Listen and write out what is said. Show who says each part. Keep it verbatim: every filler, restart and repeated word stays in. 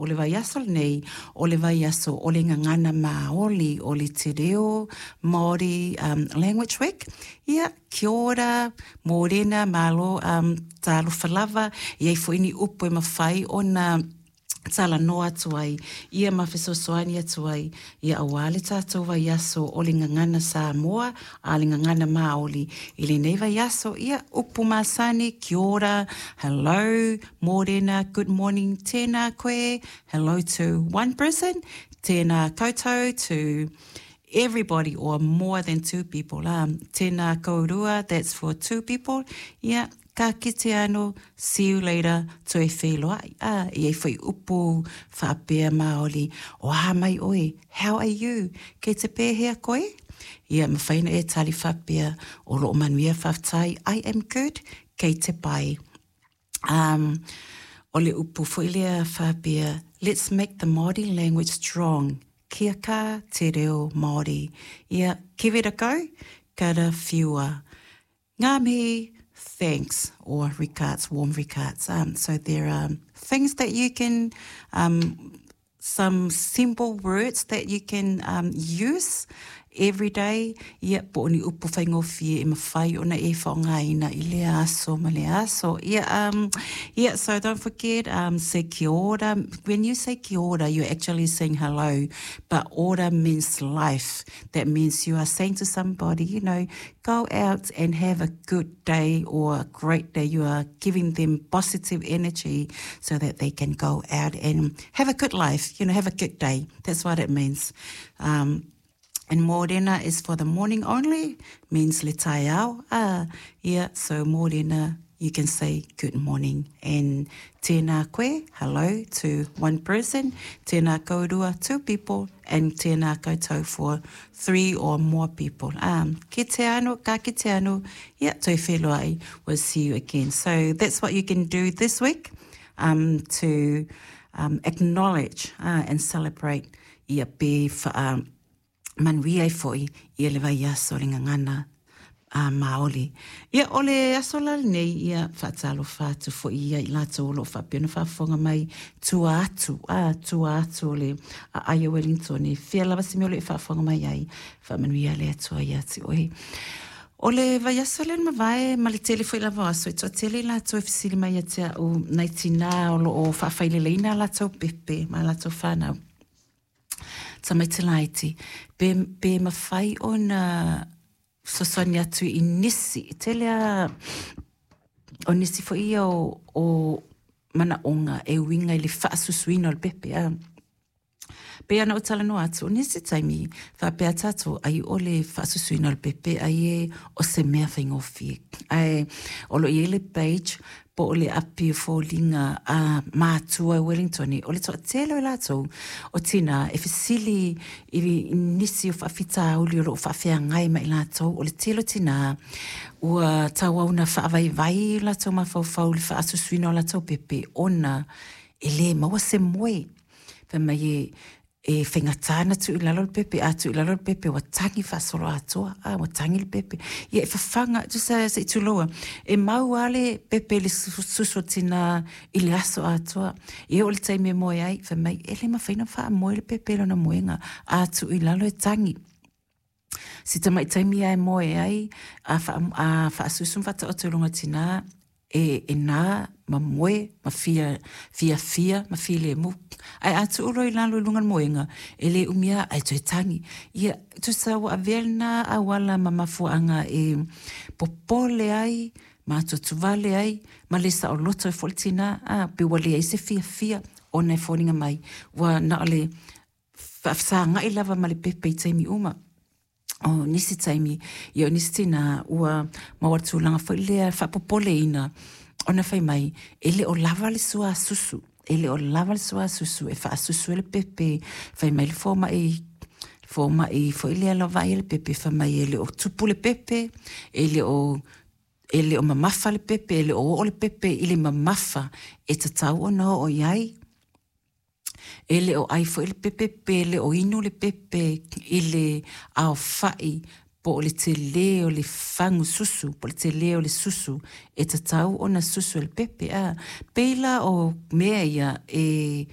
Speaker 1: O le vaiaso lenei, o le vaiaso o le Gagana Māori, o le Te Reo Māori um, Language Week. Ia, kia ora, mōrena, malo, um, talofa lava, e ai foi ni upu e mafai ona talanoa atu ai, ia ma fesoasoani atu ai, ia auā le tatou vaiaso o le Gagana Samoa, a le Gagana Māori. I lenei vaiaso, ia, upu masani, kia ora, hello, mōrena, good morning, tēnā koe, hello to one person, tēnā koutou to everybody or more than two people. Um, tēnā kourua, that's for two people. Yeah, ka kite anō, see you later, toe wheloai. Ah, e ai foi upu whaapea Māori. O a mai oe, how are you? Kei te pēhea koe? Ia, mawhai ona e tali whaapea o loo manuia faafetai, I am good, kei te pai. Um, o le upu foi lea whaapea, let's make the Māori language strong. Kia kaha te reo Māori. Ia, give it a go, karawhiua. Ngā mihi, thanks, or regards, warm regards. Um, so there are things that you can, um, some simple words that you can um, use every day. Ia, po o ni upu faigofie e mafai ona e faaaogaina i lea aso ma le aso. Ia, um, yeah, so don't forget, um, say kia ora. When you say kia ora, you're actually saying hello, but ora means life. That means you are saying to somebody, you know, go out and have a good day or a great day. You are giving them positive energy so that they can go out and have a good life, you know, have a good day. That's what it means. Um, and mōrena is for the morning only, means le taeao. Ah, yeah, so mōrena, you can say good morning. And tēnā koe, hello to one person, tēnā kourua, two people, and tēnā koutou for three or more people. Um, kite anō, ka kite anō, yeah, toe wheloai, we'll see you again. So that's what you can do this week um, to um, acknowledge uh, and celebrate ia pe wha, um, manuia ai foi ia le vaiaso o le Gagana a Māori. Ia, o le aso la lenei, ia faatalofa atu foi ia i latou o lo o faapea ona faafofoga mai tua atu, a tua atu o le aai o Wellington, e fea lava se mea o lo o e faafofoga mai ai, faamanuia le Atua ia te oe. O le vaiaso lea na mavae ma le tele foi lava o aso, e toatele i latou e fesili mai ia te au nai tinā o lo o faafaileleina a latou pepe ma a latou fanau. Tamaiti laiti, pe, pe mafai ona fesoasoani atu i nisi, e tele a o nisi foi ia o, o manaoga e uiga i le faasusuina o le pepe. A. Pei ona ou talanoa atu, o nisi taimi, faapea tatou, ai o le faasusuina o le pepe, ai e o se mea faigofie. Ae o lo o i ai le page po o le api o foliga a matua i Wellington, o le toatele o i latou o tinā e fesili i nisi o faafitauli o lo o faafeagai ma i latou, o le tele o tinā ua tauau ina faavaivai o latou mafaufau i le faasusuina o latou pepe ona e lē maua se moe. Fai mai e e faigata ona tuu i lalo le pepe, a tuu i lalo le pepe ua tagi faasoloatoa, a ua tagi le pepe. Ia e fafaga, tusa se i tuloua, e mau lava le pepe i le susu o tinā i le aso atoa. Ia oo i le taimi e moe ai, fai mai, e le mafai ona faamoe le pepe i lona moega, a tuu i lalo e tagi. Si tamai taimi lava e moe ai, a, faa, a faasusu ma faataoto i luga o tinā, e, e nā ma moe ma fia, fiafia ma filemu. Ae a tuu loa i lalo i luga o le moega, e lē umi lava ae toe tagi. Ia, tusa ua avea lenā auala ma mafuaaga e popole ai, ma atuatuvale ai, ma le saoloto ai foi le tinā, a, pe ua leai se fiafia ona e foliga mai, ua na o le faafesagai lava ma le pepe i taimi uma. O nisi taimi, ia o nisi tinā, ua maua le tulaga foi lea faapopoleina ona fai mai, e le o lava le suasusu, e le o lava le suasusu e faasusu ai le pepe. Fai mai le fomai, fomai foi lea la vaai le pepe, fai mai e le o tupu le pepe, e le o e le o mamafa le pepe, e le o oo le pepe i le mamafa e tatau ona oo i ai. E le o ʻai foi le pepe pe le o inu le pepe i le aofaʻi po o le telē o le fagu susu, po o le telē o le susu e tatau ona susu e le pepe. A pei la o mea ia e